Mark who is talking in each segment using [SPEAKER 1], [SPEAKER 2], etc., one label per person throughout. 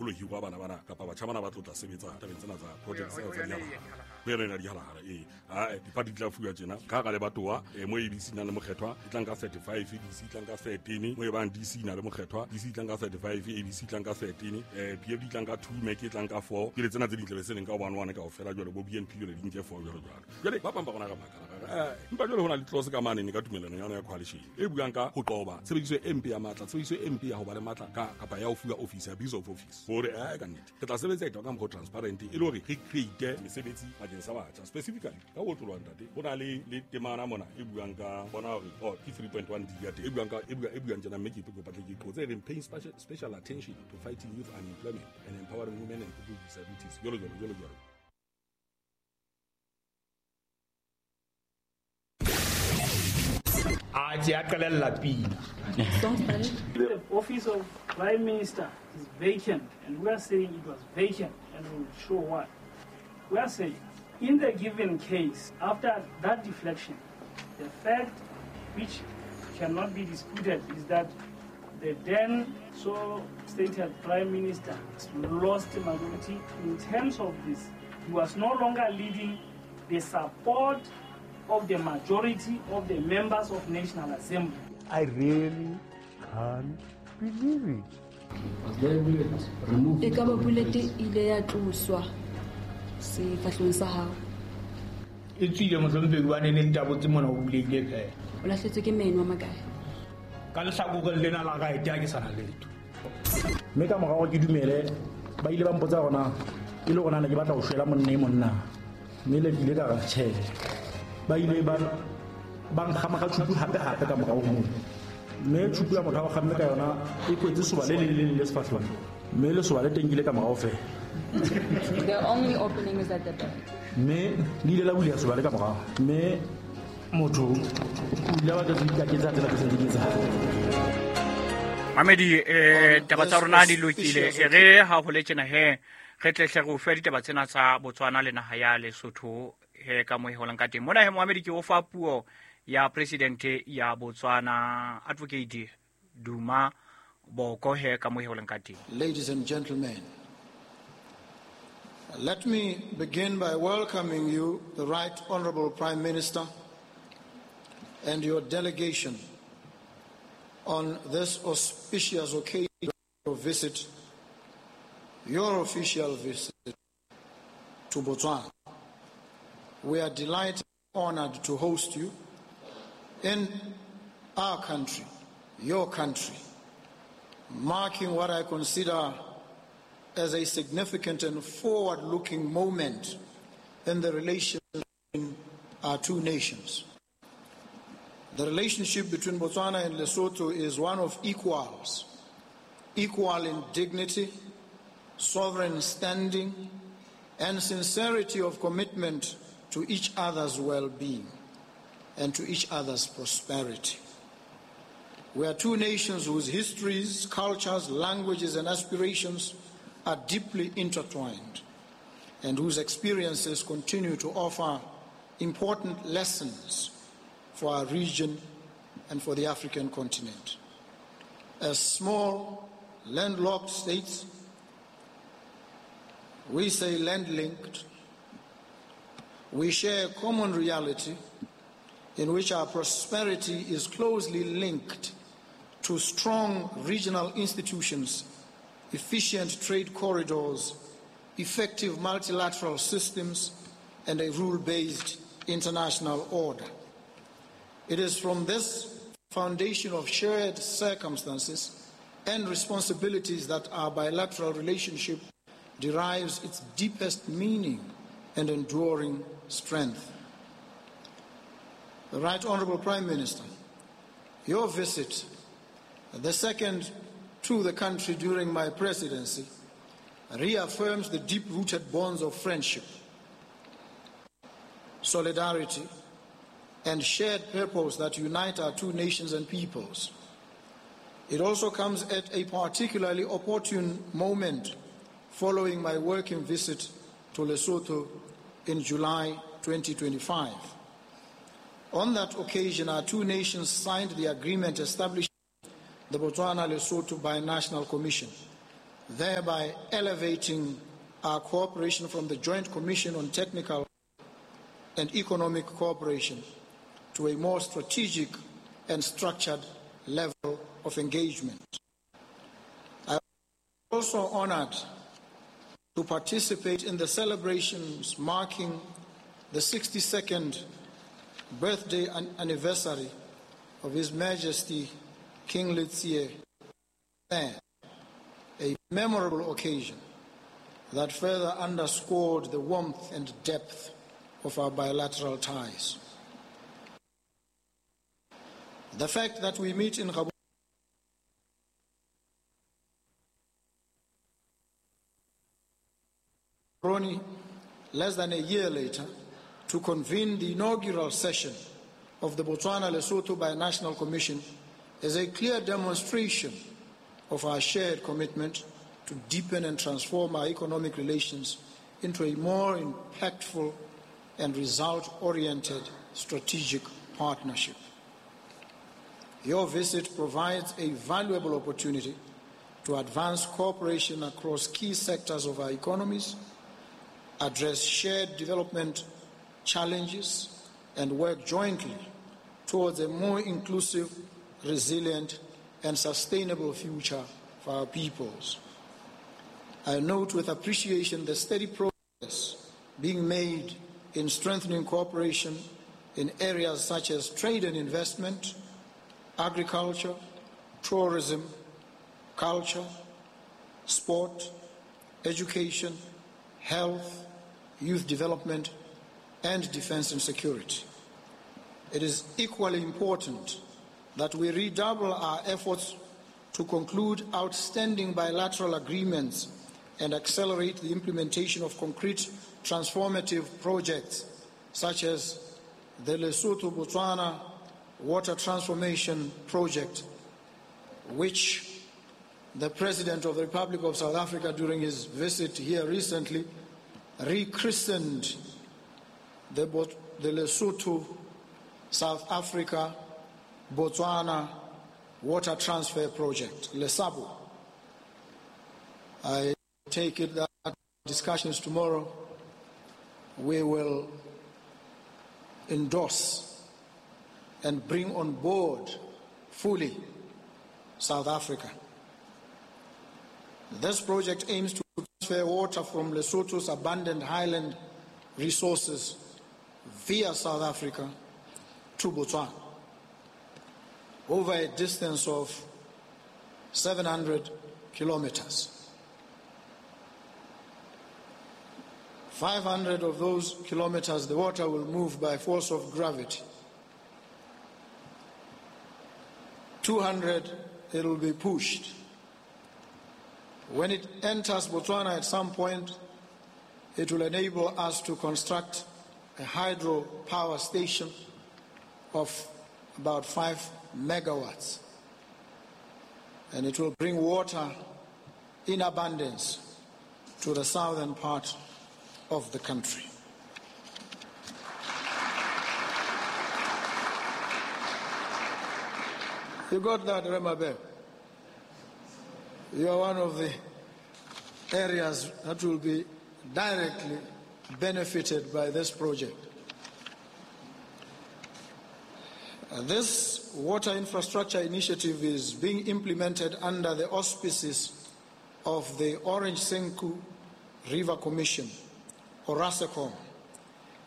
[SPEAKER 1] Ho lo hirwa bana bana kapa batjha bana ba tlo tla sebetsa tabeng tsena tsa project tsena tsa dihalahara. Ho yona ena dihalahara ee. Ae, dipati di tla fuwa tjena. Ka hara lebatowa, mo ABC nang le mokgethwa, e tlang ka 35, DC e tlang ka 13, mo e bang DC na le mokgethwa, DC e tlang ka 35, ABC e tlang ka 13, PFD e tlang ka 2, MEC e tlang ka 4. Ke le tsena tse ding tlabe se leng ka 1 1 kaofela jwale bo BNP jwale di nke 4 jwalo jwalo. Jwale ba bang ba rona re makala ra re, empa jwale ho na le clause ka mane ne ka tumelano ya yona ya coalition e buang ka ho qoba tshebediso e mpe ya matla, tshebediso e mpe ya ho ba le matla ka kapa ya ho fuwa office, abuse of office. Hore ka nnete re tla sebetsa etwa ka mokgwa o transparent e le hore re create mesebetsi bakeng sa batjha. Specifically ka ho otloloha ntate, ho na le le temana mona e buang ka bona hore oh ke 3.1 D ya teng e buang ka e bua e buang tjena mme ke kopa tle ke qotse e reng paying special attention to fighting youth unemployment and empowering women and people with disabilities jwalo jwalo jwalo jwalo.
[SPEAKER 2] A tse a qalella pina.
[SPEAKER 3] The office of Prime Minister is vacant, and we are saying it was vacant, and we will show why. We are saying, in the given case, after that deflection, the fact which cannot be disputed is that the then so stated Prime Minister lost majority. In terms of this, he was no longer leading the support of the majority of the members of National Assembly.
[SPEAKER 4] I really can't believe it.
[SPEAKER 5] Ekaba bullet e ile ya tloswa sefahlehong sa hao?
[SPEAKER 2] E tswile mohlompheki hobane ne ntabotse mona o bulehile feela.
[SPEAKER 5] O lahletswe ke meno a makae?
[SPEAKER 2] Ka lehlakoreng lena la right ha ke sana letho.
[SPEAKER 6] Mme ka morao ke dumele ba ile ba mpotsa hore na e le hore na ne ke batla ho shwela monna e monna. Mme le ke ile ka re tjhe. Ba ile ba ba nkgama ka tjhupu hape hape ka morao ho moo. Mme tjhupu ya motho a ba kgamme ka yona e kwetse soba le leng le leng le sefahlehong. Mme lesoba le teng ke ile ka morao feela.
[SPEAKER 5] The only opening is at the back.
[SPEAKER 6] Mme le ile la buleha soba le ka morao. Mme motho o ile a batla ho ikaketsa tsela tse seng di etsahala.
[SPEAKER 7] Mamedi, taba tsa rona di lokile. E re ha ho le tjena he, re tle hle re o fe ditaba tsena tsa Botswana le naha ya Lesotho he ka mo e holang ka teng. Mona he Mohamedi ke o fa puo ya president ya Botswana Advocate Duma Boko he ka mo e holang ka teng.
[SPEAKER 8] Ladies and gentlemen, let me begin by welcoming you, the Right Honorable Prime Minister, and your delegation on this auspicious occasion of visit, your official visit to Botswana. We are delighted and honored to host you in our country, your country, marking what I consider as a significant and forward-looking moment in the relation between our two nations. The relationship between Botswana and Lesotho is one of equals, equal in dignity, sovereign standing, and sincerity of commitment to each other's well-being and to each other's prosperity. We are two nations whose histories, cultures, languages, and aspirations are deeply intertwined and whose experiences continue to offer important lessons for our region and for the African continent. As small, landlocked states, we say land-linked, we share a common reality in which our prosperity is closely linked to strong regional institutions, efficient trade corridors, effective multilateral systems, and a rule-based international order. It is from this foundation of shared circumstances and responsibilities that our bilateral relationship derives its deepest meaning and enduring strength. The Right Honorable Prime Minister, your visit, the second to the country during my presidency, reaffirms the deep-rooted bonds of friendship, solidarity, and shared purpose that unite our two nations and peoples. It also comes at a particularly opportune moment following my working visit to Lesotho in July 2025. On that occasion, our two nations signed the agreement establishing the Botswana-Lesotho Binational Commission, thereby elevating our cooperation from the Joint Commission on Technical and Economic Cooperation to a more strategic and structured level of engagement. I am also honored to participate in the celebrations marking the 62nd birthday anniversary of His Majesty King Letsie, a memorable occasion that further underscored the warmth and depth of our bilateral ties. The fact that we meet in Gaborone less than a year later to convene the inaugural session of the Botswana-Lesotho Binational Commission is a clear demonstration of our shared commitment to deepen and transform our economic relations into a more impactful and result-oriented strategic partnership. Your visit provides a valuable opportunity to advance cooperation across key sectors of our economies, address shared development challenges, and work jointly towards a more inclusive, resilient, and sustainable future for our peoples. I note with appreciation the steady progress being made in strengthening cooperation in areas such as trade and investment, agriculture, tourism, culture, sport, education, health, youth development, and defense and security. It is equally important that we redouble our efforts to conclude outstanding bilateral agreements and accelerate the implementation of concrete transformative projects such as the Lesotho-Botswana Water Transformation Project, which the President of the Republic of South Africa during his visit here recently rechristened the Lesotho, South Africa, Botswana Water Transfer Project, LESABO. I take it that discussions tomorrow we will endorse and bring on board fully South Africa. This project aims to transfer water from Lesotho's abundant highland resources via South Africa to Botswana over a distance of 700 kilometers. 500 of those kilometers, the water will move by force of gravity. 200, it will be pushed. When it enters Botswana at some point, it will enable us to construct a hydropower station of about 5 megawatts. And it will bring water in abundance to the southern part of the country. You got that, Remabe? You are one of the areas that will be directly benefited by this project. This water infrastructure initiative is being implemented under the auspices of the Orange Senqu River Commission, ORASECOM,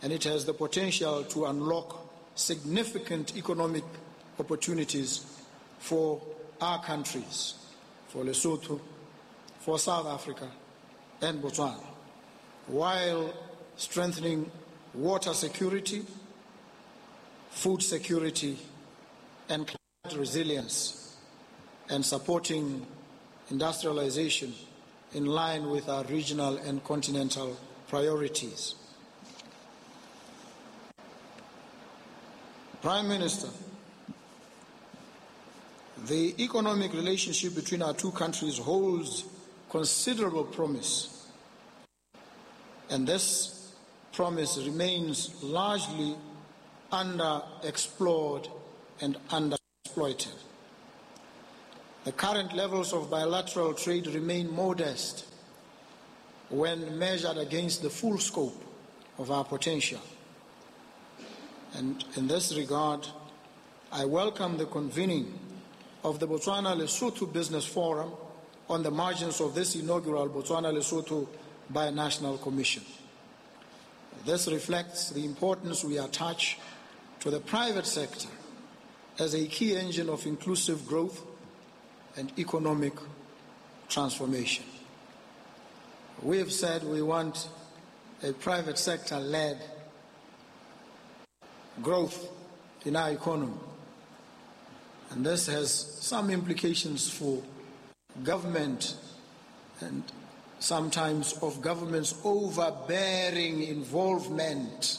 [SPEAKER 8] and it has the potential to unlock significant economic opportunities for our countries, for Lesotho, for South Africa, and Botswana, while strengthening water security, food security, and climate resilience, and supporting industrialization in line with our regional and continental priorities. Prime Minister, the economic relationship between our two countries holds considerable promise, and this promise remains largely underexplored and underexploited. The current levels of bilateral trade remain modest when measured against the full scope of our potential. And in this regard, I welcome the convening of the Botswana-Lesotho Business Forum on the margins of this inaugural Botswana-Lesotho Binational Commission. This reflects the importance we attach to the private sector as a key engine of inclusive growth and economic transformation. We have said we want a private sector-led growth in our economy. And this has some implications for government and sometimes of government's overbearing involvement.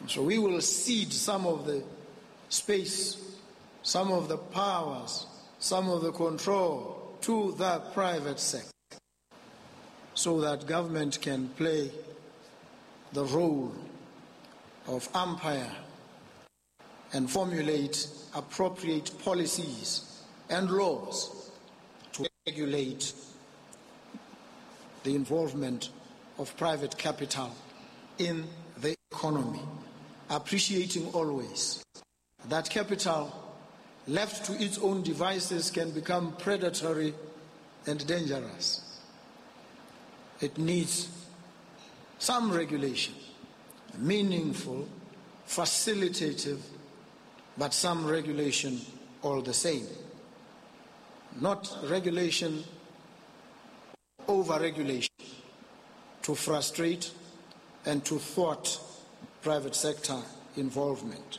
[SPEAKER 8] So we will cede some of the space, some of the powers, some of the control to the private sector so that government can play the role of umpire and formulate appropriate policies and laws to regulate the involvement of private capital in the economy, appreciating always that capital left to its own devices can become predatory and dangerous. It needs some regulation, meaningful, facilitative, but some regulation all the same. Not regulation, over-regulation, to frustrate and to thwart private sector involvement.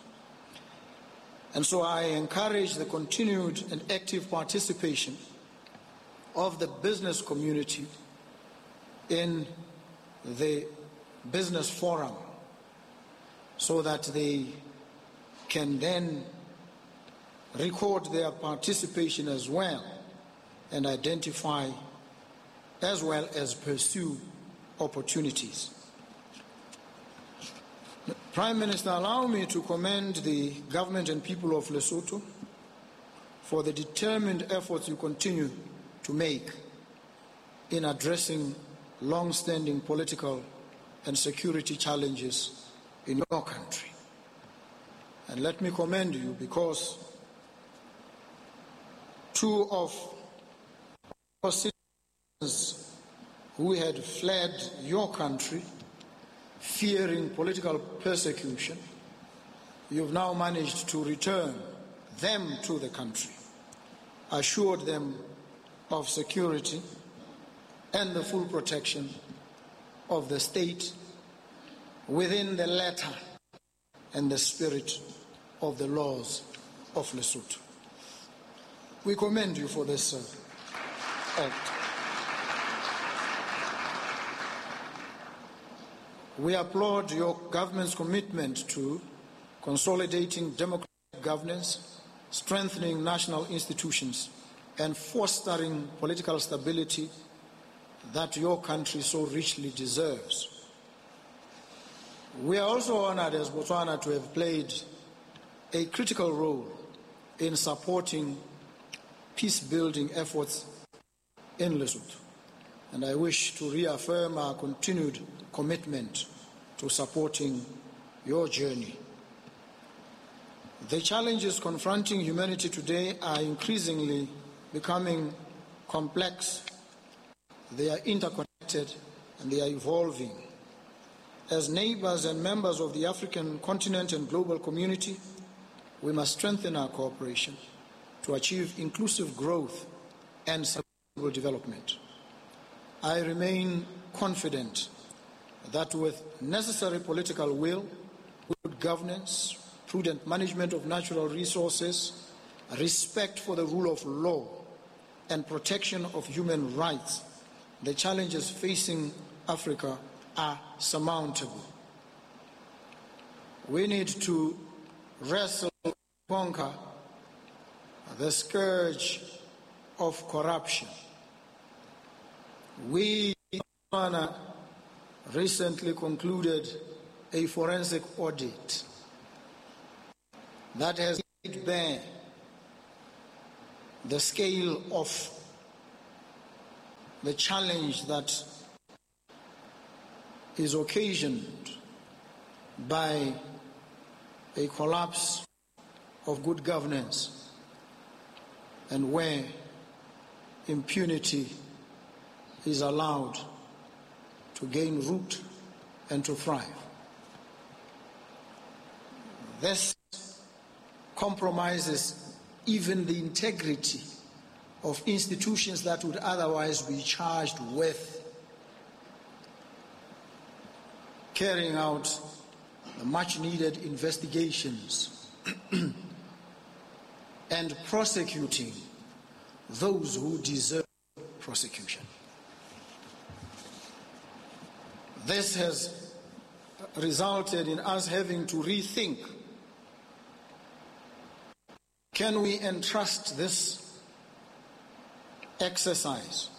[SPEAKER 8] And so I encourage the continued and active participation of the business community in the business forum so that they can then record their participation as well and identify as well as pursue opportunities. Prime Minister, allow me to commend the government and people of Lesotho for the determined efforts you continue to make in addressing long-standing political and security challenges in your country. And let me commend you because two of our citizens who had fled your country fearing political persecution, you've now managed to return them to the country, assured them of security and the full protection of the state within the letter and the spirit of the laws of Lesotho. We commend you for this act. We applaud your government's commitment to consolidating democratic governance, strengthening national institutions, and fostering political stability that your country so richly deserves. We are also honored as Botswana to have played a critical role in supporting peace-building efforts in Lesotho. And I wish to reaffirm our continued commitment to supporting your journey. The challenges confronting humanity today are increasingly becoming complex. They are interconnected and they are evolving. As neighbors and members of the African continent and global community, we must strengthen our cooperation to achieve inclusive growth and sustainable development. I remain confident that with necessary political will, good governance, prudent management of natural resources, respect for the rule of law, and protection of human rights, the challenges facing Africa are surmountable. We need to wrestle, conquer the scourge of corruption. We recently concluded a forensic audit that has laid bare the scale of the challenge that is occasioned by a collapse of good governance and where impunity is allowed to gain root and to thrive. This compromises even the integrity of institutions that would otherwise be charged with carrying out the much needed investigations and prosecuting those who deserve prosecution. This has resulted in us having to rethink, can we entrust this exercise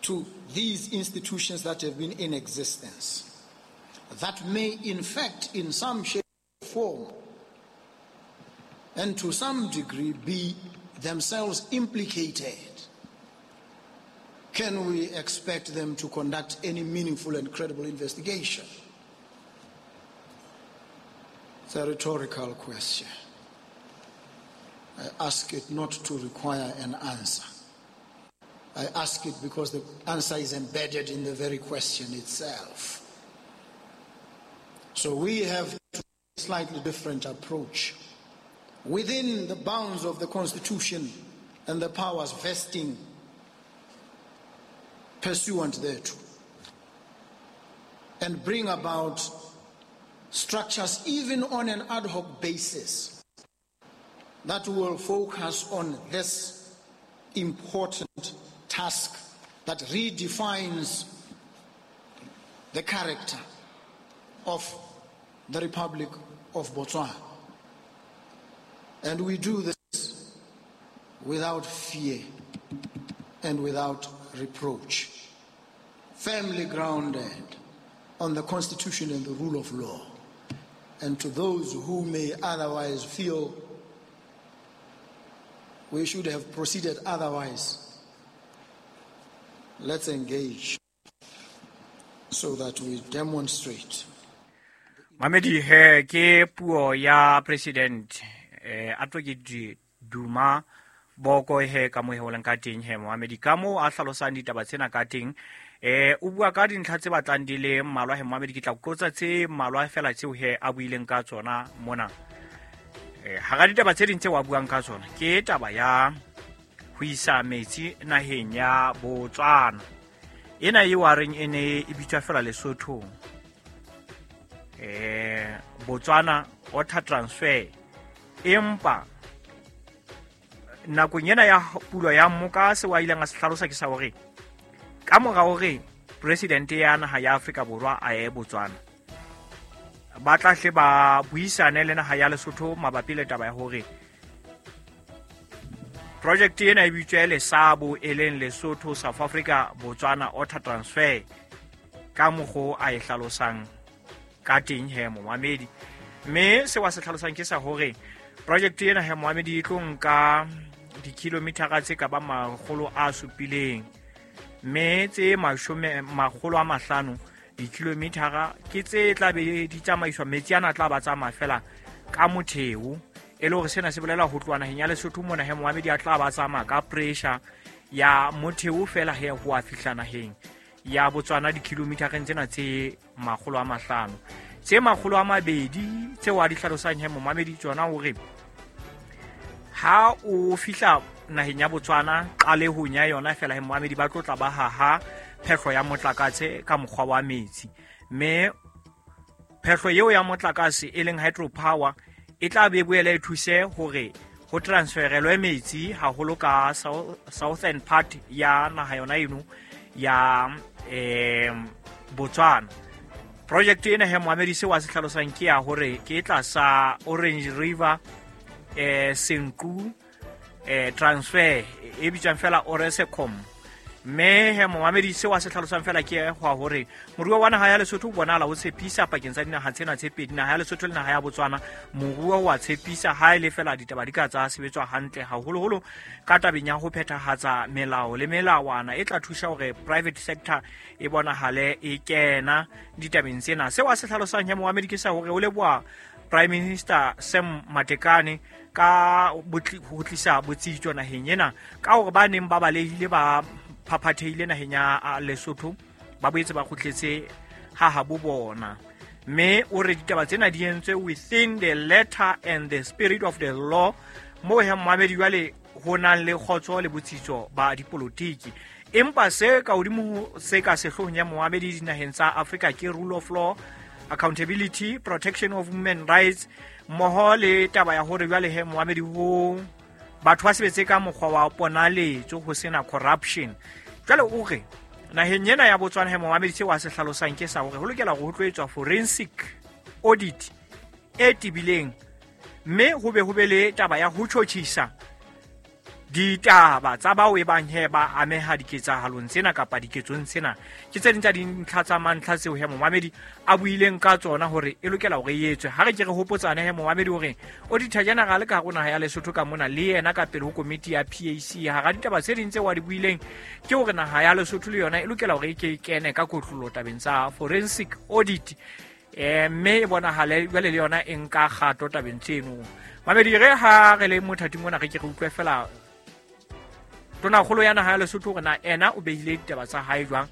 [SPEAKER 8] to these institutions that have been in existence, that may in fact in some shape or form and to some degree be themselves implicated? Can we expect them to conduct any meaningful and credible investigation? It's a rhetorical question. I ask it not to require an answer. I ask it because the answer is embedded in the very question itself. So we have a slightly different approach. Within the bounds of the Constitution and the powers vesting pursuant thereto, and bring about structures even on an ad hoc basis that will focus on this important task that redefines the character of the Republic of Botswana. And we do this without fear and without reproach, firmly grounded on the Constitution and the rule of law. And to those who may otherwise feel we should have proceeded otherwise, let's engage so that we demonstrate.
[SPEAKER 7] Mamedi he ke puo ya President Advocate Duma Boko he ka moheolang ka teng he Mohamedi ka mo a hlalosang ditaba tsena ka teng. O bua ka dintlha tse batlang di le mmalwa he Mohamedi, ke tla qotsa tse mmalwa fela tseo he a buileng ka tsona mona. Hara ditaba tse ding tse wa buang ka tsona ke taba ya ho isa metsi naheng ya Botswana. Ena eo a reng e ne e bitswa fela Lesothong. Botswana water transfer, empa nakong ena ya pulo ya mmoka se wa ileng a se hlalosa ke sa hore ka mora hore president ya naha ya Afrika Borwa a ye Botswana, ba tla hle ba buisane le naha ya Lesotho mabapi le taba ya hore project ena e bitswe Lesabo, e leng Lesotho South Africa Botswana water transfer, ka mokgo a e hlalosang ka teng he Mohamedi. Mme se wa se hlalosang ke sa hore project ena he Mohamedi e tlo nka dikilometara tse ka ba 700, mme tse 500 dikilometara ke tse tla be di tsamaiswa, metsi ana tla ba tsamaya fela ka motheo. E le hore sena se bolela ho tloha naheng ya Lesotho mona he Mohamedi a tla ba tsamaya ka pressure ya motheo fela he ho a fihla naheng ya Botswana dikilometereng tsena tse 500. Tse 200 tseo a di hlalosang he Mohamedi tsona hore ha o fihla naheng ya Botswana qalehong ya yona fela he Mohamedi ba tlo tla ba haha phehlo ya motlakase ka mokgwa wa metsi, mme phehlo eo ya motlakase e leng hydropower e tla be boele e thuse hore ho transferelwe metsi haholo ka southern part ya naha yona eno ya Botswana. Project ena he Mohamedi se wa se hlalosang ke ya hore ke tlasa Orange River Senqu transfer e bitswang fela Oresecom. Mme he momamedi seo a se tlhalosang fela ke go a hore moruo wa naha ya Lesotho o bonahala o tshepisa pakeng tsa dinaha tsena tse pedi, naha ya Lesotho le naha ya Botswana. Moruo wa tshepisa ha e le fela ditaba di ka tsa sebetswa hantle, haholoholo ka tabeng ya ho phethahatsa melao le melawana e tla thusa hore private sector e bonahale e kena ditabeng tsena. Seo a se tlhalosang he momamedi ke sa hore o leboha Prime Minister Sam Matekane ka ho tlisa botsitso naheng ena, ka hore ba neng ba balehile ba phaphathehile naheng ya Lesotho ba boetse ba kgutletse ha habo bona. Mme o re ditaba tsena di entswe within the letter and the spirit of the law, moo he momamedi jwale ho nang le kgotso le botsitso ba dipolotiki. Empa se ka hodimo se ka sehloohong ya momamedi dinaheng tsa Afrika ke rule of law, accountability, protection of human rights, mmoho le taba ya hore jwale he momamedi ho batho ba sebetse ka mokgwa wa ponaletso ho sena corruption. Jwale o re naheng ena ya Botswana he momamedi seo a se hlalosang ke sa hore ho lokela hore ho tlo etswa forensic audit e tebileng, mme ho be le taba ya ho tjhotjhisa ditaba tsa bao e bang he ba ameha diketsahalong tsena kapa diketsong tsena. Ke tse ding tsa dintlha tsa mantlha tseo he momamedi a buileng ka tsona hore e lokela hore e etswe. Ha re ke re hopotsane he momamedi hore Auditor General ka hare ho naha ya Lesotho ka mona le yena ka pele ho komiti ya PAC, hara ditaba tse ding tseo a di buileng ke hore naha ya Lesotho le yona e lokela hore e ke e kene ka kotlolo tabeng tsa forensic audit, mme e bonahale jwale le yona e nka kgato tabeng tseno. Mamedi, re ha re le mothating mona re ke re utlwe fela tonakgolo ya naha ya Lesotho hore na ena o behile ditaba tsa hae jwang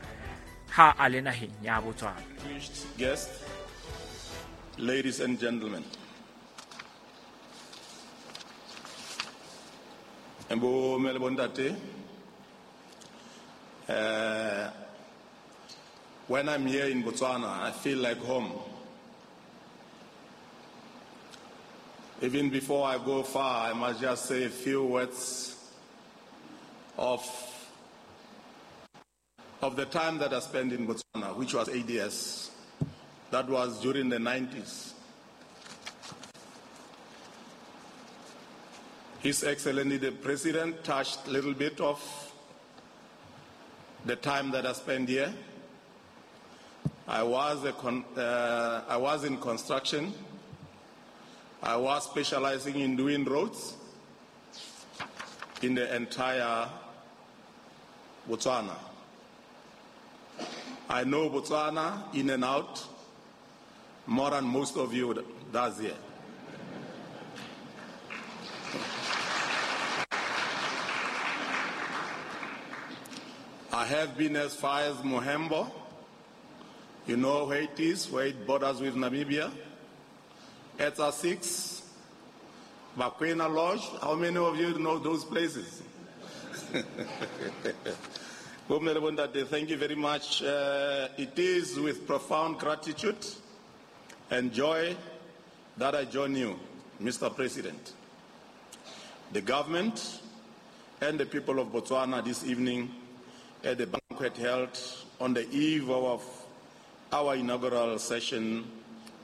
[SPEAKER 7] ha a le naheng ya Botswana.
[SPEAKER 9] Guests, ladies and gentlemen, bo mme le bontate, when I'm here in Botswana, I feel like home. Even before I go far, I must just say a few words of the time that I spent in Botswana, which was 8 years. That was during the 90s. His Excellency the President touched a little bit of the time that I spent here. I was in construction. I was specializing in doing roads in the entire Botswana. I know Botswana in and out more than most of you does here. I have been as far as Mohembo. You know where it is, where it borders with Namibia. Etsa 6, Bakwena Lodge. How many of you know those places? Thank you very much. It is with profound gratitude and joy that I join you, Mr. President, the government, and the people of Botswana this evening at the banquet held on the eve of our inaugural session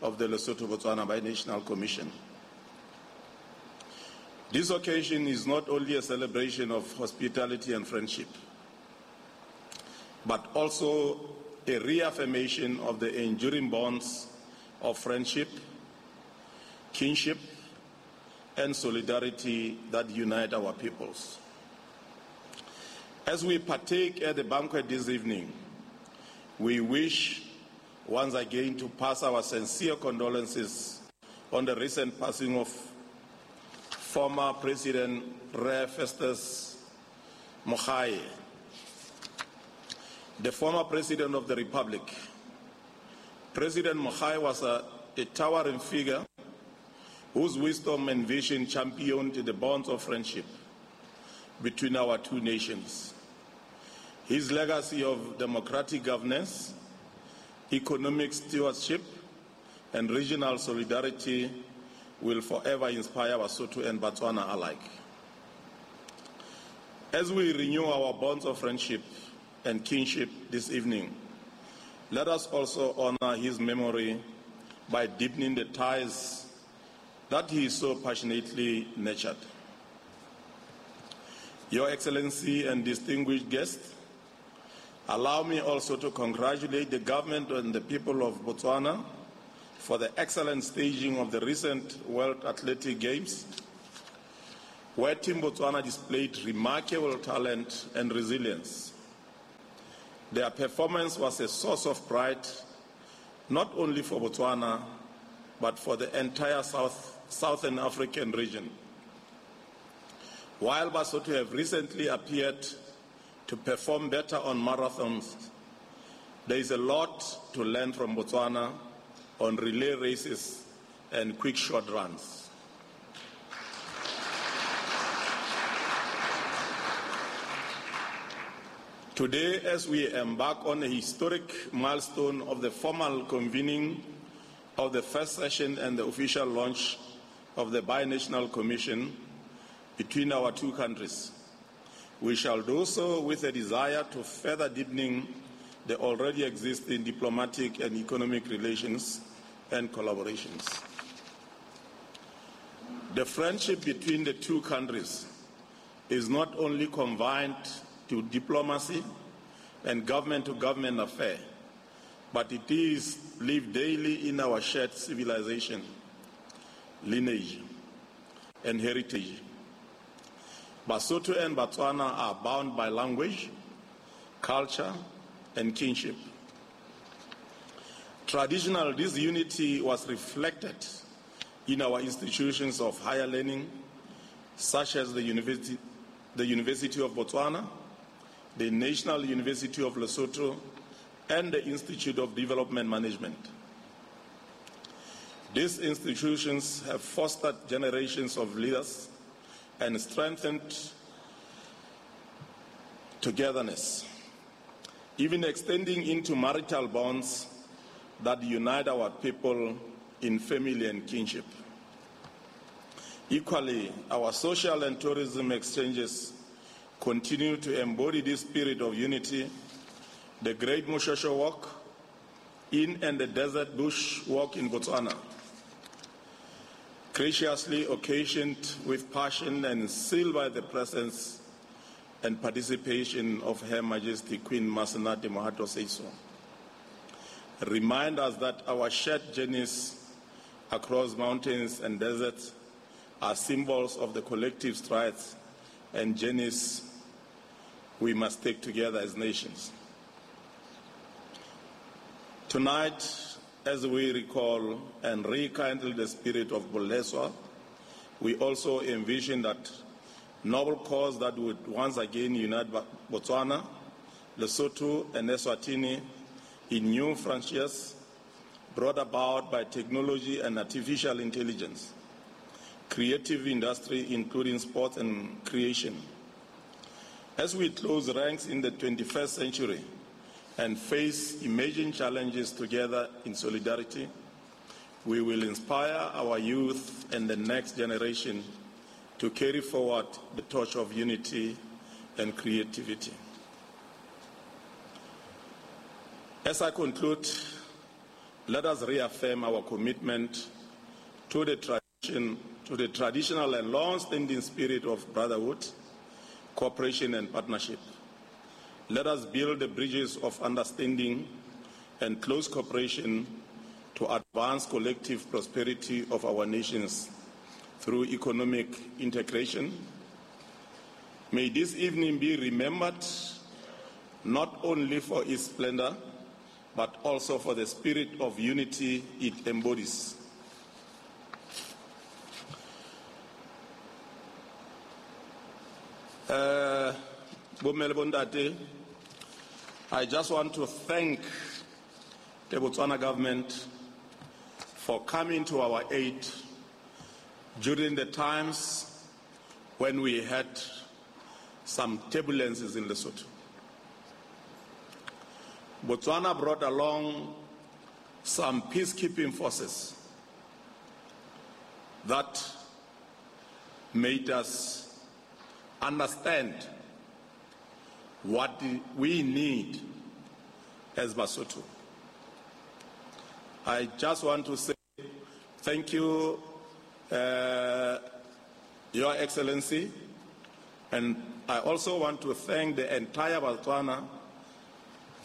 [SPEAKER 9] of the Lesotho-Botswana Binational Commission. This occasion is not only a celebration of hospitality and friendship, but also a reaffirmation of the enduring bonds of friendship, kinship, and solidarity that unite our peoples. As we partake at the banquet this evening, we wish once again to pass our sincere condolences on the recent passing of former President Festus Mogae, the former President of the Republic. President Mogae was a towering figure whose wisdom and vision championed the bonds of friendship between our two nations. His legacy of democratic governance, economic stewardship, and regional solidarity will forever inspire Basotho and Botswana alike. As we renew our bonds of friendship and kinship this evening, let us also honor his memory by deepening the ties that he so passionately nurtured. Your Excellency and distinguished guests, Allow me also to congratulate the government and the people of Botswana for the excellent staging of the recent World Athletic Games, where Team Botswana displayed remarkable talent and resilience. Their performance was a source of pride, not only for Botswana, but for the entire Southern African region. While Basotho have recently appeared to perform better on marathons, there is a lot to learn from Botswana on relay races and quick short runs. Today, as we embark on a historic milestone of the formal convening of the first session and the official launch of the Binational Commission between our two countries, we shall do so with a desire to further deepening the already existing diplomatic and economic relations and collaborations. The friendship between the two countries is not only confined to diplomacy and government-to-government affair, but it is lived daily in our shared civilization, lineage, and heritage. Basotho and Botswana are bound by language, culture, and kinship. Traditionally, this unity was reflected in our institutions of higher learning, such as the University of Botswana, the National University of Lesotho, and the Institute of Development Management. These institutions have fostered generations of leaders and strengthened togetherness, even extending into marital bonds that unite our people in family and kinship. Equally, our social and tourism exchanges continue to embody this spirit of unity. The Great Moshosho Walk in and the Desert Bush Walk in Botswana, graciously occasioned with passion and sealed by the presence and participation of Her Majesty Queen Masenate Mohato Seeiso, remind us that our shared journeys across mountains and deserts are symbols of the collective strides and journeys we must take together as nations. Tonight, as we recall and rekindle the spirit of Buleswa, we also envision that noble cause that would once again unite Botswana, Lesotho, and Eswatini in new frontiers brought about by technology and artificial intelligence, creative industry including sports and creation. As we close ranks in the 21st century and face emerging challenges together in solidarity, we will inspire our youth and the next generation to carry forward the torch of unity and creativity. As I conclude, let us reaffirm our commitment to the traditional and long-standing spirit of brotherhood, cooperation, and partnership. Let us build the bridges of understanding and close cooperation to advance collective prosperity of our nations through economic integration. May this evening be remembered not only for its splendor, but also for the spirit of unity it embodies. Bomme le bontate, I just want to thank the Botswana government for coming to our aid during the times when we had some turbulences in Lesotho. Botswana brought along some peacekeeping forces that made us understand what we need as Basotho. I just want to say thank you, Your Excellency, and I also want to thank the entire Botswana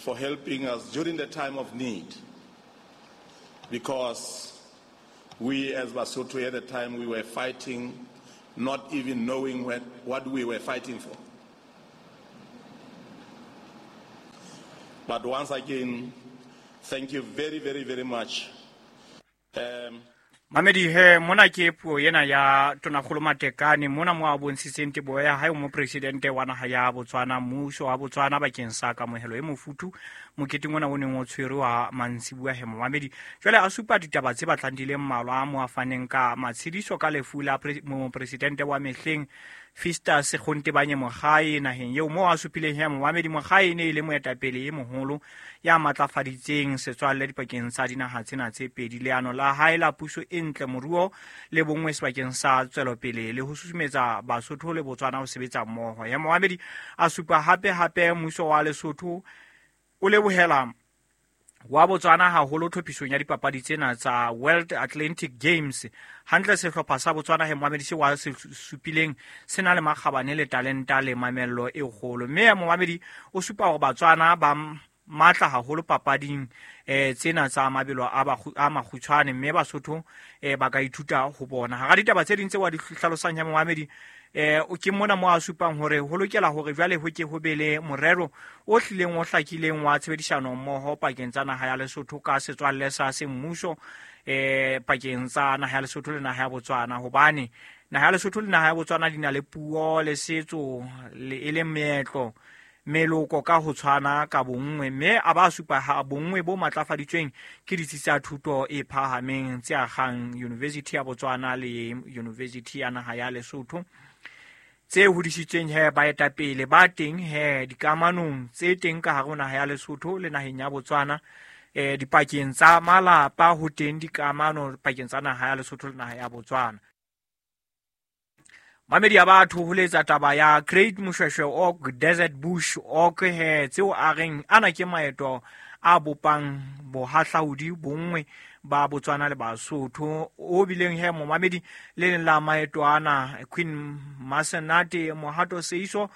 [SPEAKER 9] for helping us during the time of need, because we as Basotho at the time, we were fighting, not even knowing what we were fighting for. But once again, thank you very, very, very much.
[SPEAKER 7] Mamedi he mona ke puo ena ya Tonakgolo Matekane mona mo a bontshitseng teboho ya hae ho mopresidente wa naha ya Botswana, mmuso wa Botswana bakeng sa kamohelo e mofuthu moketeng ona o neng o tshwerwe wa mantsibuya he momamedi. Jwale a supa ditaba tse batlang di le mmalwa mo a faneng ka matshediso ka lefu la mopresidente wa mehleng Festus Gontebanye Mogae naheng eo, mo a supileng he momamedi Mogae e ne e le moetapele e moholo ya matlafaditseng setswalle dipakeng tsa dinaha tsena tse pedi. Leano la hae la puso e ntle, moruo le bonngwe sebakeng sa tswelopele le ho susumetsa Basotho le Botswana ho sebetsa mmoho. Ya momamedi a supa hape mmuso wa Lesotho o lebohela wa Botswana haholo tlhophisong ya dipapadi tsena tsa World Athletic Games. Hantle sehlopha sa Botswana he momamedi se wa se supileng se na le makgabane le talenta le mamello e kgolo. Mme momamedi o supa hore Batswana ba matla haholo papading tsena tsa mabelo a makgutshwane, mme Basotho ba ka ithuta ho bona. Hara ditaba tse ding tse wa di hlalosang ya momamedi, ke mona mo a supang hore ho lokela hore jwale ho ke ho be le morero o hlileng o hlakileng wa tshebedisano mmoho pakeng tsa naha ya Lesotho ka setswalle sa semmuso pakeng tsa naha ya Lesotho le naha ya Botswana, hobane naha ya Lesotho le naha ya Botswana di na le puo le setso le e le meetlo meloko ka ho tshwana ka bonngwe, mme a ba supa ha bonngwe bo matlafaditsweng ke ditsi tsa thuto e phahameng tse agang University ya Botswana le University ya naha ya Lesotho tse hodisitsweng he baetapele ba teng he dikamanong tse teng ka hare ho naha ya Lesotho le naheng ya Botswana, dipakeng tsa malapa ho teng dikamano pakeng tsa naha ya Lesotho le naha ya Botswana. Mamedi ya batho ho letsa taba ya Great Moshoeshoe Oak Desert Bush Oak he tseo a reng ana ke maeto a bopang bohahlaudi bonngwe ba Botswana le Basotho o bileng he momamedi le leng la maeto ana Queen Masenate Mohato Seiso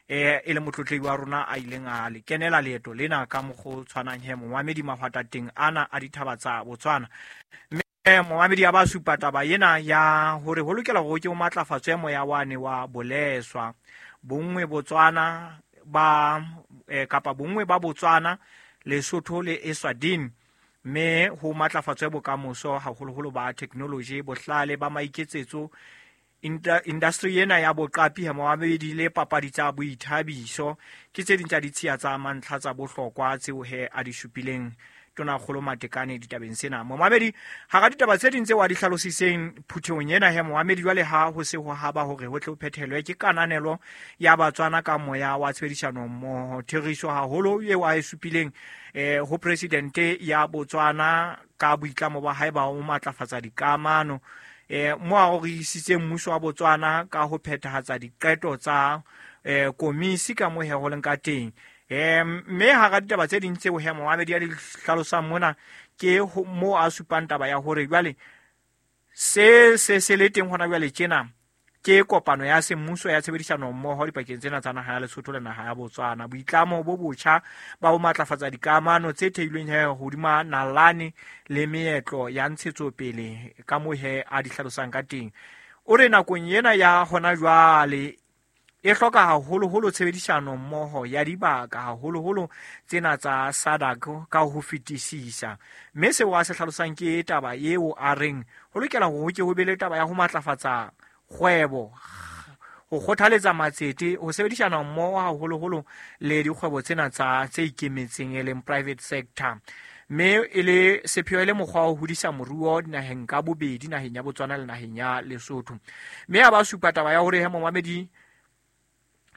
[SPEAKER 7] e le motlotlehi wa rona a ileng a le kenela leeto lena ka mokgwa o tshwanang he momamedi mahwatateng ana a dithaba tsa Botswana. Momamedi a ba supa taba ena ya hore ho lokela hore ke o matlafatswe moya wane wa boleswa bonngwe Botswana ba kapa bonngwe ba Botswana, Lesotho le Eswatini, mme ho matlafatswe bokamoso haholoholo ba technology, bohlale ba maiketsetso, industry ena ya boqapi ha momamedi le papadi tsa boithabiso ke tse ding tsa ditshiya tsa mantlha tsa bohlokwa tseo he a di supileng Tonakgolo Matekane ditabeng sena. Momamedi hara ditaba tse ding tse wa di hlalositseng phuthehong ena he momamedi jwale ha ho se ho haba hore ho tle ho phethelwe ke kananelo ya Batswana ka moya wa tshebedisano mmoho, theriso haholo eo a e supileng ho presidente ya Botswana ka boitlamo ba hae ba ho matlafatsa dikamano, mo a rorisitseng mmuso wa Botswana ka ho phethahatsa diqeto tsa komisi ka mo he ho leng ka teng. Mme hara ditaba tse ding tseo he momamedi a di hlalosang mona ke mo a supang taba ya hore jwale se se le teng hona jwale tjena ke kopano ya semmuso ya tshebedisano mmoho dipakeng tsena tsa naha ya Lesotho le naha ya Botswana, boitlamo bo botjha ba ho matlafatsa dikamano tse theilweng he hodima nalane le meetlo ya ntshetsopele ka mo he a di hlalosang ka teng. O re nakong ena ya hona jwale e hloka haholoholo tshebedisano mmoho ya dibaka haholoholo tsena tsa SADC ka ho fetisisa. Mme seo a se hlalosang ke taba eo a reng ho lokela hore ho ke ho be le taba ya ho matlafatsa kgwebo, ho kgothaletsa matsete, ho sebedisana mmoho haholoholo le dikgwebo tsena tsa tse ikemetseng e leng private sector, mme e le sepheo e le mokgwa wa ho hodisa moruo dinaheng ka bobedi, naheng ya Botswana le naheng ya Lesotho. Mme a ba supa taba ya hore he momamedi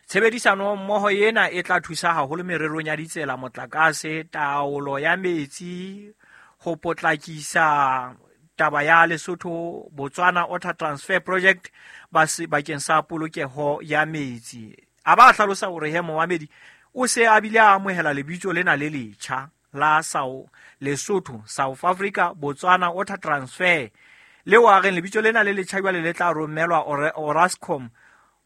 [SPEAKER 7] tshebedisano mmoho ena e tla thusa haholo mererong ya ditsela, motlakase, taolo ya metsi, ho potlakisa taba ya Lesotho Botswana Water Transfer Project bakeng sa polokeho ya metsi. A ba hlalosa hore he momamedi o se a bile a amohela lebitso lena le letjha la Lesotho South Africa Botswana Water Transfer, leo a reng lebitso lena le letjha jwale le tla romelwa Orascom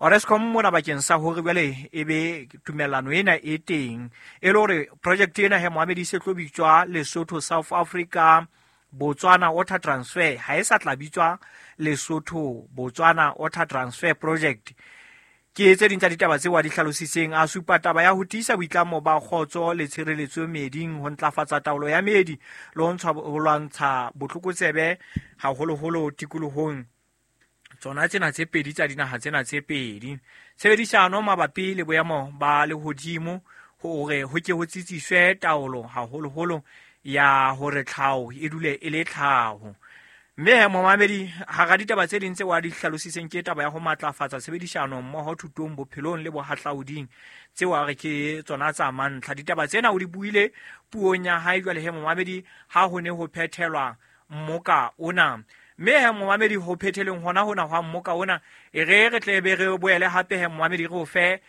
[SPEAKER 7] Orescom mona bakeng sa hore jwale e be tumellano ena e teng e le hore project ena he moamedi se tlo bitswa Lesotho South Africa Botswana Water Transfer, ha e sa tla bitswa Lesotho Botswana Water Transfer Project. Ke tse ding tsa ditaba tseo a di hlalositseng, a supa taba ya ho tiisa boitlamo ba kgotso le tshireletso meeding, ho ntlafatsa taolo ya meedi le ho lwantsha botlokotsebe haholoholo tikolohong tsona tsena tse pedi tsa dinaha tsena tse pedi. Tshebedisano mabapi le boemo ba lehodimo hore ho ke ho tsitsiswe taolo haholoholo ya hore tlhaho e dule e le tlhaho. Mme momamedi, hara ditaba tse ding tse wa di hlalositseng ke taba ya ho matlafatsa tshebedisano mmoho thutong, bophelong le bohahlauding, tseo a re ke tsona tsa mantlha. Ditaba tsena o di buile puong ya hae jwale he momamedi ha ho ne ho phethelwa mmoka ona. Mme he momamedi, ho phetheleng hona hona hwa mmoka ona, e re re tle be re boele hape he momamedi re o fe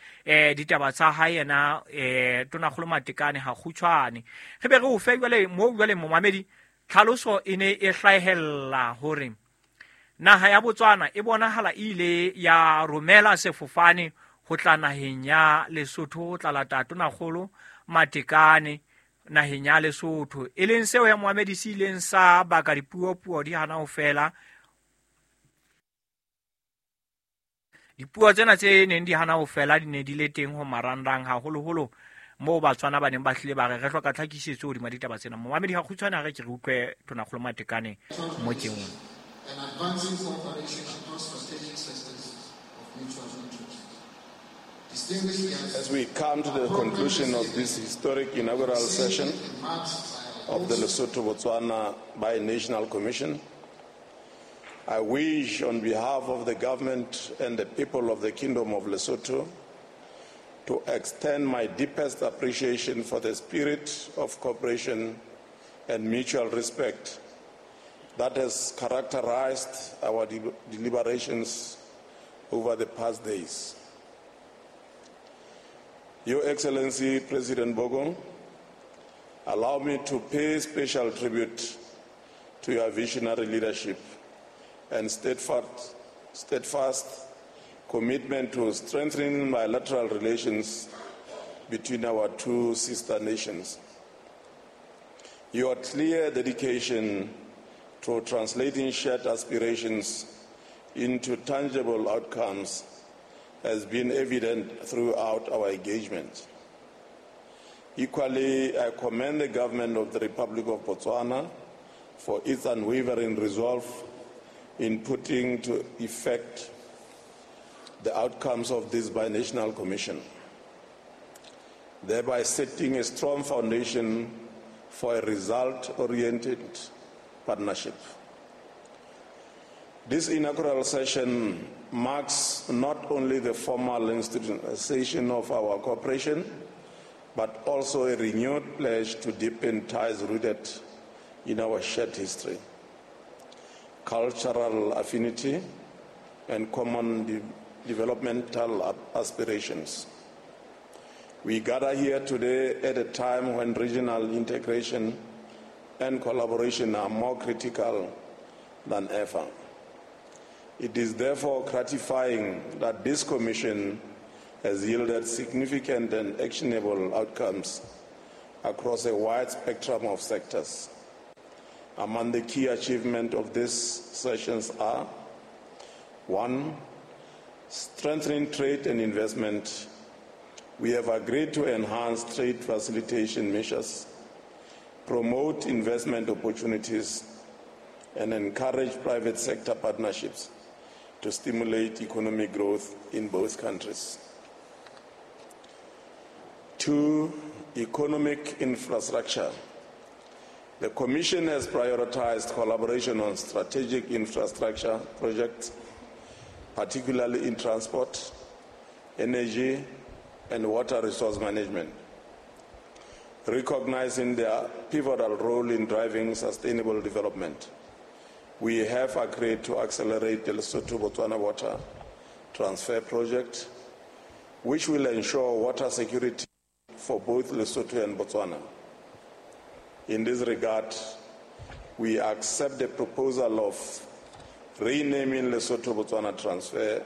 [SPEAKER 7] ditaba tsa hae yena Tonakgolo Matekane ha kgutshwane. Re be re o fe jwale mo jwale momamedi tlhaloso e ne e hlahella hore naha ya Botswana e bonahala e ile ya romela sefofane ho tla naheng ya Lesotho ho tla lata Tonakgolo Matekane naheng ya Lesotho, e leng seo ya moamedi se ileng sa baka dipuo-puo di hana ho fela. Dipuo tsena tse neng di hana ho fela di ne di le teng ho marangrang haholoholo moo Batswana ba neng ba hlile ba re re hloka tlhakisetso hodima ditaba tsena. Momamedi ha kgutshwane ha re ke re utlwe Tonakgolo Matekane mo teng.
[SPEAKER 8] And advancing cooperation across strategic sectors of mutual interest.
[SPEAKER 9] As we come to the conclusion of this historic inaugural session of the Lesotho-Botswana Binational Commission, I wish on behalf of the government and the people of the Kingdom of Lesotho to extend my deepest appreciation for the spirit of cooperation and mutual respect that has characterized our deliberations over the past days. Your Excellency, President Bogong, allow me to pay special tribute to your visionary leadership and steadfast commitment to strengthening bilateral relations between our two sister nations. Your clear dedication to translating shared aspirations into tangible outcomes has been evident throughout our engagement. Equally, I commend the government of the Republic of Botswana for its unwavering resolve in putting to effect the outcomes of this binational commission, thereby setting a strong foundation for a result-oriented partnership. This inaugural session marks not only the formal institutionalization of our cooperation, but also a renewed pledge to deepen ties rooted in our shared history, cultural affinity, and common developmental aspirations. We gather here today at a time when regional integration and collaboration are more critical than ever. It is therefore gratifying that this commission has yielded significant and actionable outcomes across a wide spectrum of sectors. Among the key achievements of these sessions are: 1, strengthening trade and investment. We have agreed to enhance trade facilitation measures, promote investment opportunities, and encourage private sector partnerships to stimulate economic growth in both countries. 2, economic infrastructure. The Commission has prioritized collaboration on strategic infrastructure projects, particularly in transport, energy, and water resource management, recognizing their pivotal role in driving sustainable development. We have agreed to accelerate the Lesotho-Botswana Water Transfer Project, which will ensure water security for both Lesotho and Botswana. In this regard, we accept the proposal of renaming Lesotho-Botswana Transfer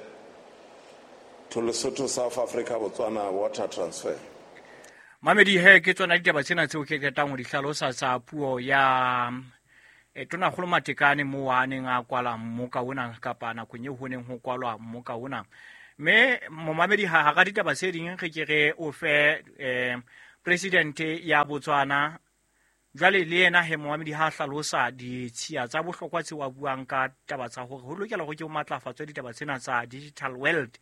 [SPEAKER 9] to Lesotho, South Africa, Botswana water transfer.
[SPEAKER 7] Mamedi he ke tsona ditaba tsena tseo ke qetang ho di hlalosa tsa puo ya Tonakgolo Matekane mo a neng a kwala mmoka ona kapa nakong eo ho neng ho kwalwa mmoka ona. Mme momamedi ha hara ditaba tse ding re ke re o fe presidente ya Botswana jwale le yena he momamedi ha hlalosa ditshiya tsa bohlokwa tseo a buang ka taba tsa hore ho lokela hore ke ho matlafatswe ditaba tsena tsa digital world.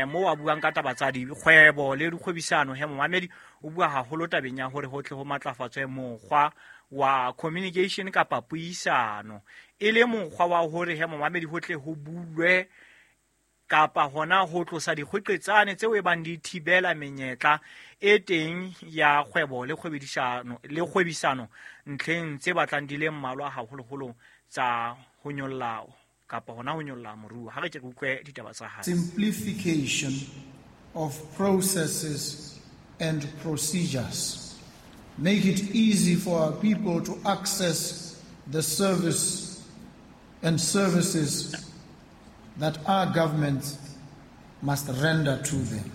[SPEAKER 7] Mo a buang ka taba tsa dikgwebo le dikgwebisano he momamedi o bua haholo tabeng ya hore ho tle ho matlafatswe mokgwa wa communication kapa puisano e le mokgwa wa hore he momamedi ho tle ho bulwe kapa hona ho tlosa dikgweqetsane tseo e bang di thibela menyetla e teng ya kgwebo le kgwebisano ntlheng tse batlang di le mmalwa haholoholo tsa ho nyolla kapa hona ho nyolla moruo. Ha re ke re utlwe ditaba tsa hae.
[SPEAKER 8] Simplification of processes and procedures. Make it easy for our people to access the service and services that our governments must render to them.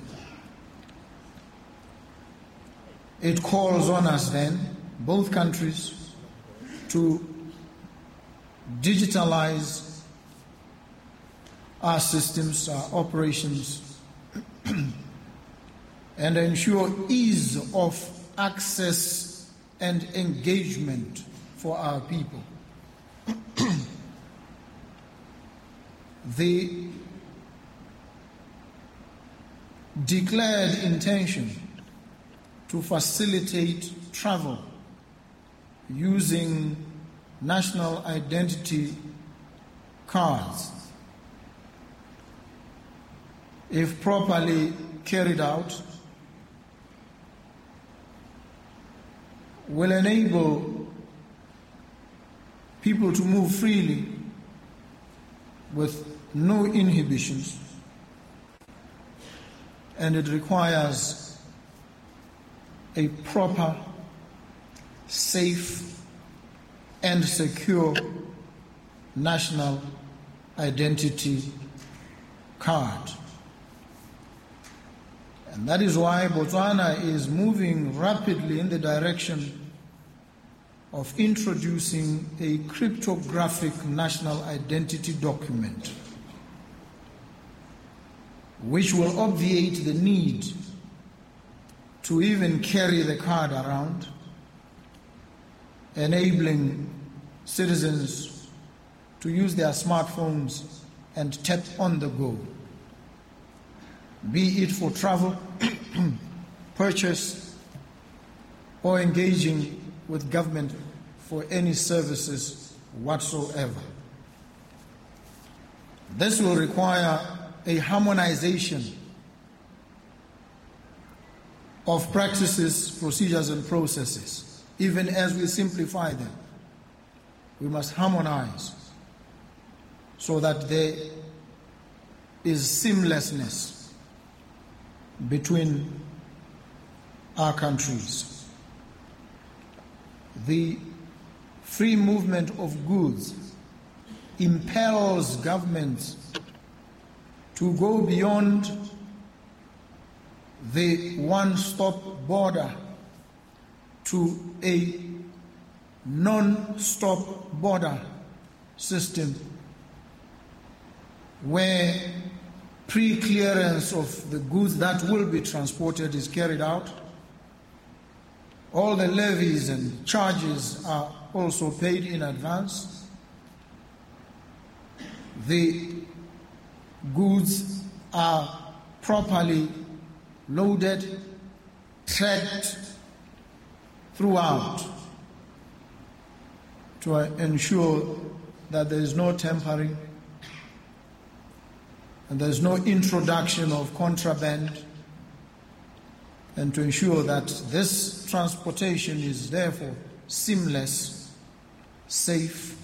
[SPEAKER 8] It calls on us then, both countries, to digitalize our systems, our operations, and ensure ease of access and engagement for our people. The declared intention to facilitate travel using national identity cards, if properly carried out, will enable people to move freely with no inhibitions, and it requires a proper, safe, and secure national identity card. And that is why Botswana is moving rapidly in the direction of introducing a cryptographic national identity document, which will obviate the need to even carry the card around, enabling citizens to use their smartphones and tap on the go, be it for travel, purchase, or engaging with government for any services whatsoever. This will require a harmonization of practices, procedures, and processes. Even as we simplify them, we must harmonize so that there is seamlessness between our countries. The free movement of goods impels governments to go beyond the one-stop border to a non-stop border system where pre-clearance of the goods that will be transported is carried out. All the levies and charges are also paid in advance. The goods are properly loaded, tracked throughout to ensure that there is no tampering and there is no introduction of contraband, and to ensure that this transportation is therefore seamless, safe,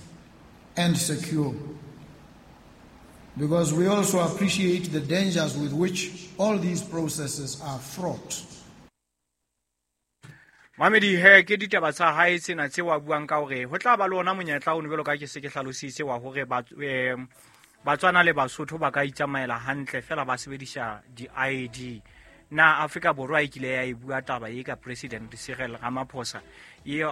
[SPEAKER 8] and secure. Because we also appreciate the dangers with which all these processes are fraught.
[SPEAKER 7] Mamedi he ke ditaba tsa hae tsena tse wa buang ka hore ho tla ba le ona monyetla o jwalo ka ke se ke hlalositse wa hore ba Batswana le Basotho ba ka itsamaela hantle fela ba sebedisa di-ID. Na Afrika Borwa e kile ya e bua taba e ka President Cyril Ramaphosa eo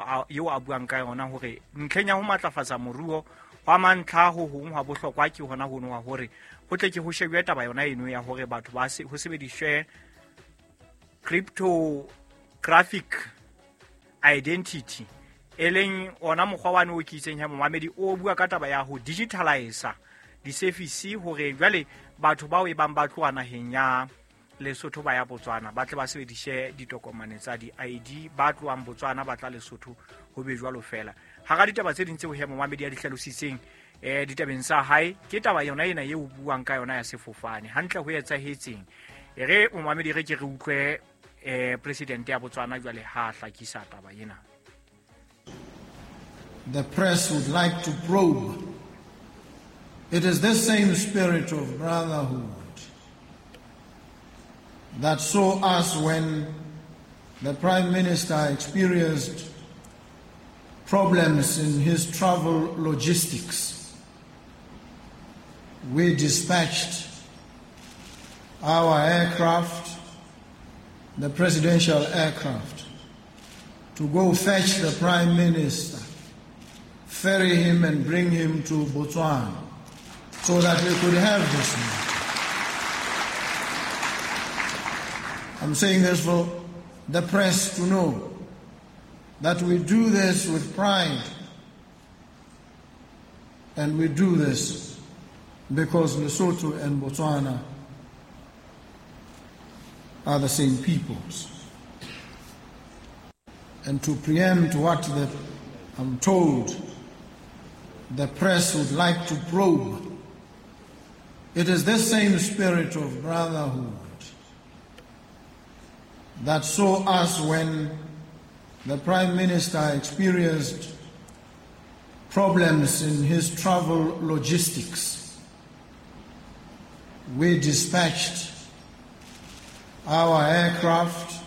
[SPEAKER 7] a buang ka yona hore ntlheng ya ho matlafatsa moruo hwa mantlha ho hong hwa bohlokwa ke hona hono wa hore ho tle ke ho shebuwe taba yona eno ya hore batho ba ho sebediswe cryptographic identity, e leng ona mokgwa wane o ke itseng ya momamedi o bua ka taba ya ho digitalize di-service hore jwale batho bao e bang ba tloha naheng ya Lesotho ba ya Botswana ba tle ba sebedise ditokomane tsa di-ID, ba tlohang Botswana ba tla Lesotho ho be jwalo fela. Hara ditaba tse ding tseo he momamedi a di hlalositseng ditabeng tsa hae ke taba yona ena eo buang ka yona ya sefofane. Hantle ho etsahetseng e re momamedi re ke re utlwe president ya Botswana jwale ha hlakisa taba ena.
[SPEAKER 8] The press would like to probe. It is this same spirit of brotherhood that saw us when the Prime Minister experienced problems in his travel logistics. We dispatched our aircraft, the presidential aircraft, to go fetch the Prime Minister, ferry him and bring him to Botswana so that we could have this meeting. I'm saying this for the press to know that we do this with pride, and we do this because Lesotho and Botswana are the same peoples. And to preempt what I'm told the press would like to probe, it is this same spirit of brotherhood that saw us when the Prime Minister experienced problems in his travel logistics. We dispatched our aircraft,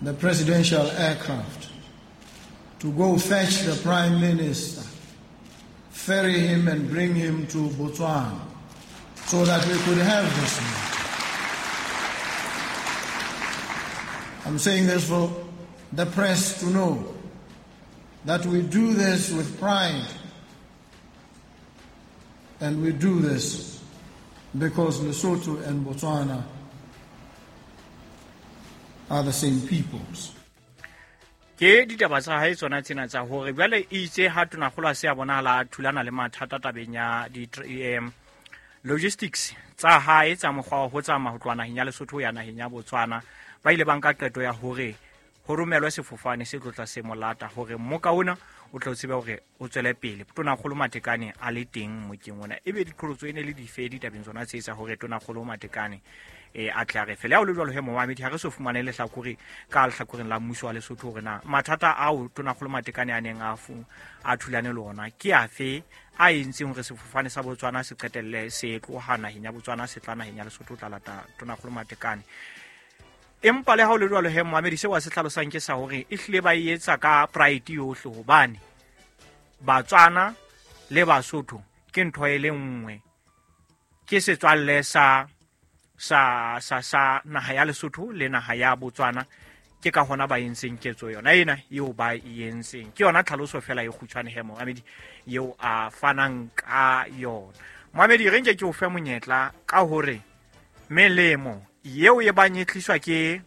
[SPEAKER 8] the presidential aircraft, to go fetch the Prime Minister, ferry him and bring him to Botswana so that we could have this meeting. I'm saying this for the press to know that we do this with pride, and we do this because Lesotho and Botswana are the same peoples.
[SPEAKER 7] Ke ditaba tsa hae tsona tsena tsa hore jwale itse ha tonakgolo a se a bonahala thulana le mathata tabeng ya di logistics tsa hae tsa mokgwa wa ho tsamaya ho tloha naheng ya Lesotho ya naheng ya Botswana, ba ile ba nka qeto ya hore ho romelwe sefofane se tlotla se molata hore mmoka ona o tla tsebe hore o tswele pele. Tonakgolo Matekane a le teng mokeng ona, ebe diqholotso e ne le dife ditabeng tsona tse tsa hore tonakgolo Matekane a tle a re fele. Ha o le jwalo he momamedi, ha re so fumane lehlakore ka lehlakoreng la mmuso wa Lesotho hore na mathata ao tonakgolo Matekane a neng a thulane le ona ke afe a entseng hore sefofane sa Botswana se qetelle se tloha naheng ya Botswana se tla naheng ya Lesotho tla lata tonakgolo Matekane. Empa le ha o le jwalo he momamedi, seo a se hlalosang ke sa hore e hlile ba e etsa ka pride yohle hobane Batswana le Basotho ke ntho e le nngwe, ke setswalle sa naha ya Lesotho le naha ya Botswana, ke ka hona ba entseng ketso yona ena eo ba e entseng. Ke yona tlhaloso fela e kgutshwane he momamedi eo a fanang ka yona. Momamedi, re nke ke o fe monyetla ka hore melemo eo e bang e tliswa ke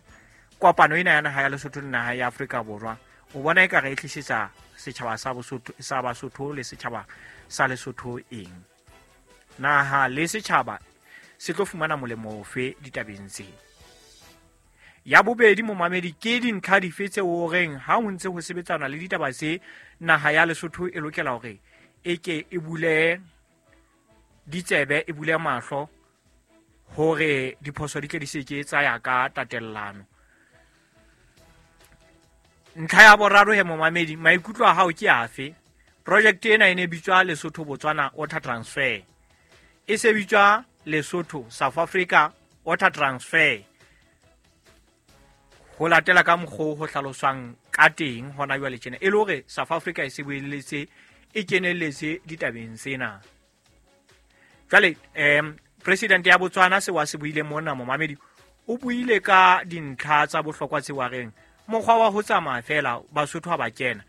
[SPEAKER 7] kopano ena ya naha ya Lesotho le naha ya Afrika Borwa, o bona e ka re e tlisetsa setjhaba sa Bosotho sa Basotho le setjhaba sa Lesotho eng? Naha le setjhaba se tlo fumana molemo ofe ditabeng tse? Ya bobedi momamedi, ke dintlha dife tse o reng ha ho ntse ho sebetsana le ditaba tse naha ya Lesotho e lokela hore e ke e bule ditsebe, e bule mahlo hore diphoso di tle di se ke tsa ya ka tatellano? Ntlha ya boraro he momamedi, maikutlo a hao ke afe? Project ena e ne bitswa Lesotho Botswana Water Transfer, e se bitswa Lesotho South Africa Water Transfer ho latela ka mokgwa ho hlaloswang ka teng hona jwale tjena, e le hore South Africa e se boeletse e kenelletse ditabeng tsena. Jwale president ya Botswana se wa se buile mona momamedi o buile ka dintlha tsa bohlokwa tse wa reng mokgwa wa ho tsamaya fela Basotho ha ba kena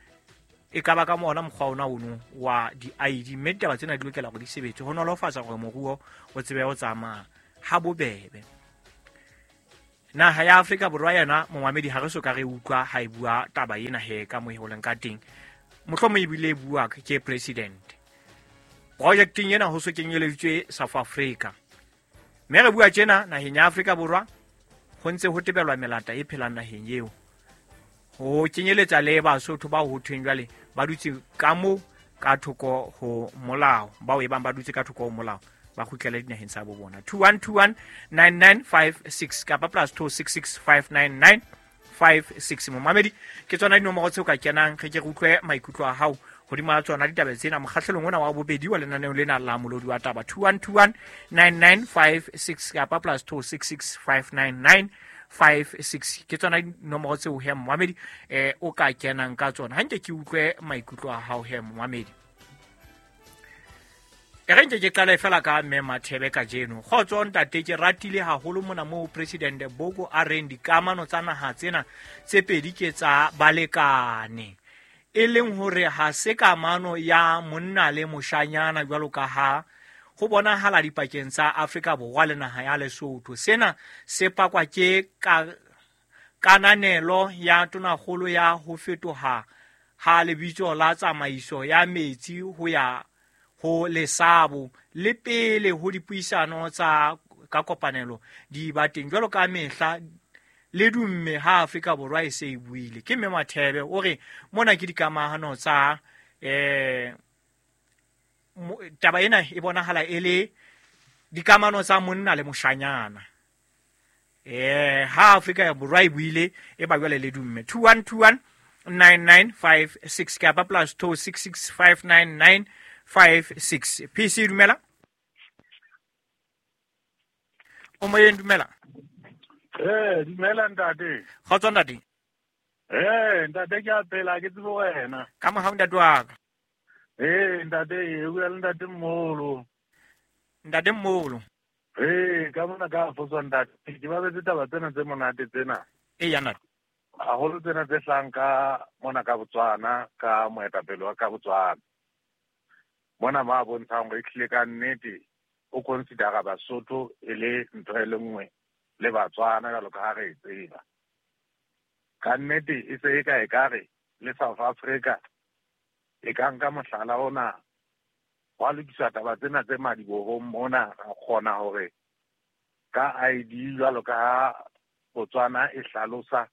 [SPEAKER 7] e ka ba ka mona mokgwa ona ono wa di-ID mme ditaba tsena di lokela hore di sebetse ho nolofatsa hore moruo o tsebe ho tsamaya ha bobebe. Naha ya Afrika Borwa yona momamedi ha re so ka re utlwa ha e bua taba ena he ka mo e holeng ka teng, mohlomong ebile e bua ke president. Projecteng ena ho so kenyeleditswe South Africa, mme re bua tjena naheng ya Afrika Borwa ho ntse ho tebelwa melata e phelang naheng eo, ho kenyeletsa le Basotho bao ho thweng jwale ba dutse ka mo ka thoko ho molao, bao e bang ba dutse ka thoko ho molao ba kgutlele dinaheng tsa bo bona. 21219956 kapa +266 599 56. Momamedi ke tsona dinomoro tseo ka kenang re ke re utlwe maikutlo a hao hodima tsona ditaba tsena mokgahlelong ona wa bobedi wa lenaneo lena la Molodi wa Taba. 21219956 kapa +266 599 56 ke tsona dinomoro tseo he momamedi o ka kenang ka tsona. Ha nke ke utlwe maikutlo a hao he momamedi. E re nke ke qale fela ka mme Mathebe kajeno. Kgotso ntate, ke ratile haholo mona moo President Boko a reng dikamano tsa naha tsena tse pedi ke tsa balekane, e leng hore ha se kamano ya monna le moshanyana jwalo ka ha ho bonahala dipakeng tsa Afrika Borwa le naha ya Lesotho. Sena se pakwa ke kananelo ya tonakgolo ya ho fetoha ha lebitso la tsamaiso ya metsi ho ya ho Lesabo le pele ho dipuisano tsa ka kopanelo di ba teng jwalo ka mehla le dumme ha Afrika Borwa e se e buile. Ke mme Mathebe o re mona ke dikamahano tsa taba ena e bonahala e le dikamano tsa monna le moshanyana. Ha Afrika Borwa e buile e ba jwale le dumme. 2121 9956 kapa +266 599 56. PC dumela. O moyeng dumela.
[SPEAKER 10] Dumela ntate.
[SPEAKER 7] Kgotso ntate.
[SPEAKER 10] Ntate ke a phela ke tsebe wena.
[SPEAKER 7] Ka mohau ntate wa ka.
[SPEAKER 10] Ntate o bua le ntate Mmolo.
[SPEAKER 7] Ntate Mmolo.
[SPEAKER 10] Ka mona ka fotswa ntate. Ke ba betse taba tsena tse monate tsena.
[SPEAKER 7] Ya ntate.
[SPEAKER 10] Haholo tsena tse hlang ka mona ka Botswana, ka moetapele wa ka Botswana. Mona ma bontshang hore ehlile ka nnete o considera Basotho e le ntho e le nngwe le Batswana jwalo ka ha re e tseba. Ka nnete e se e ka ekare le South Africa e ka nka mohlala ona wa lokisa taba tsena tse madibohong mona, ra kgona hore ka ID jwalo ka ha Botswana e hlalosa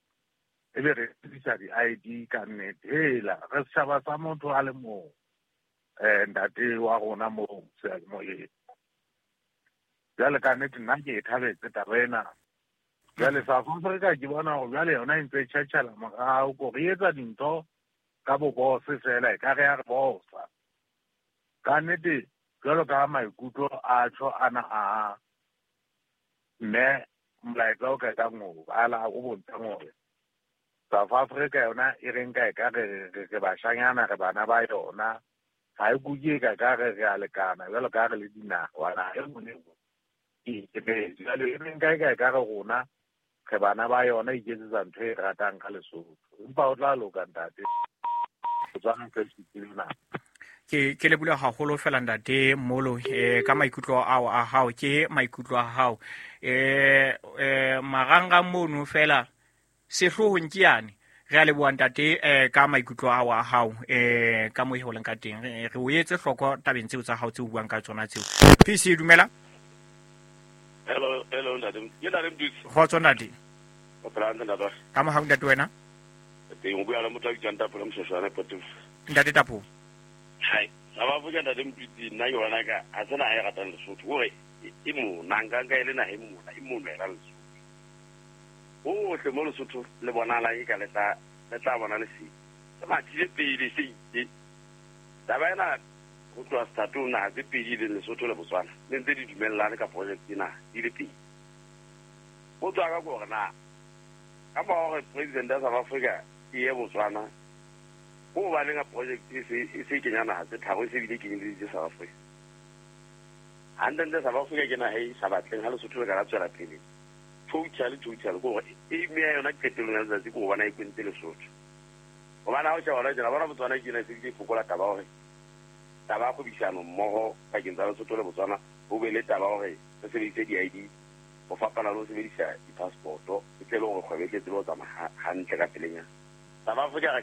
[SPEAKER 10] ebe re sebedisa di-ID ka nnete. Hela re setjhaba sa motho a le mong. Ntate wa rona moo seyalemoyeng. Jwale ka nnete nna ke e thabetse taba ena. Jwale South Africa ke bona hore jwale yona e ntse e tjhatjhela morao, ko re etsa dintho ka bobose fela e ka re ya re bosa. Ka nnete jwalo ka maikutlo a tjho ana a mme molaetsa o qetang ho bala o bontshang hore South Africa yona e re nka e ka re bashanyana re bana ba yona. Ha e kuke ka ka re re a lekana jwalo ka re le dinaha wa e nngwe le nngwe e ikemetse. Jwale e re nka e ka re rona re bana ba yona e iketsetsa ntho e ratang ka Lesotho. Empa o tla loka ntate. Botswana se fihlile na.
[SPEAKER 7] Ke leboha haholo fela ntate Mmolo ka maikutlo ao a hao, ke maikutlo a hao. Marangrang mono fela sehloohong ke yane. Re a leboha ntate ka maikutlo ao a hao ka mo e holeng ka teng. Re o etse hloko tabeng tseo tsa hao tseo buang ka tsona tseo. PC dumela.
[SPEAKER 11] Hello ntate. Ke ntate Mdutsi.
[SPEAKER 7] Kgotso ntate.
[SPEAKER 11] O phela hantle ntate.
[SPEAKER 7] Ka mohau ntate wena.
[SPEAKER 11] Teng o bua le motho a bitswang Tapolo Moshoshwana Potofo.
[SPEAKER 7] Ntate Tapolo.
[SPEAKER 11] Hai, South Africa ntate Mdutsi nna ke bona ka ha se naha e ratang Lesotho. Hore e mona nka nka e le naha e mona e mona e la Lesotho. Hohle mo Lesotho le bonahala e ka le tla bona lesedi. Se mathile pele se itse. Taba ena ho tloha sethatong naha tse pedi leng Lesotho le Botswana le ntse di dumellane ka project ena di le pedi. Potso ya ka ke hore na ka mora hore president ya South Africa e ye Botswana, ko hobaneng ha project e se kenya naha tse tharo e se bile kenyeleditse South Africa? Hantlentle South Africa ke naha e sa batleng ha Lesotho le ka la tswela pele. Totally, totally. Ke hore aim ya yona qetellong ya letsatsi ke ho bona e kwentse Lesotho. Hobane ha o sheba hona tjena, bona Botswana ke ena e se e fokola taba ya hore taba ya kgwebisano mmoho pakeng tsa Lesotho le Botswana ho be le taba ya hore re sebedise di-ID ho fapana le ho sebedisa di-passport-o e tle le hore kgwebo e tle tsebe ho tsamaya hantle ka pelenyana. South Africa re ka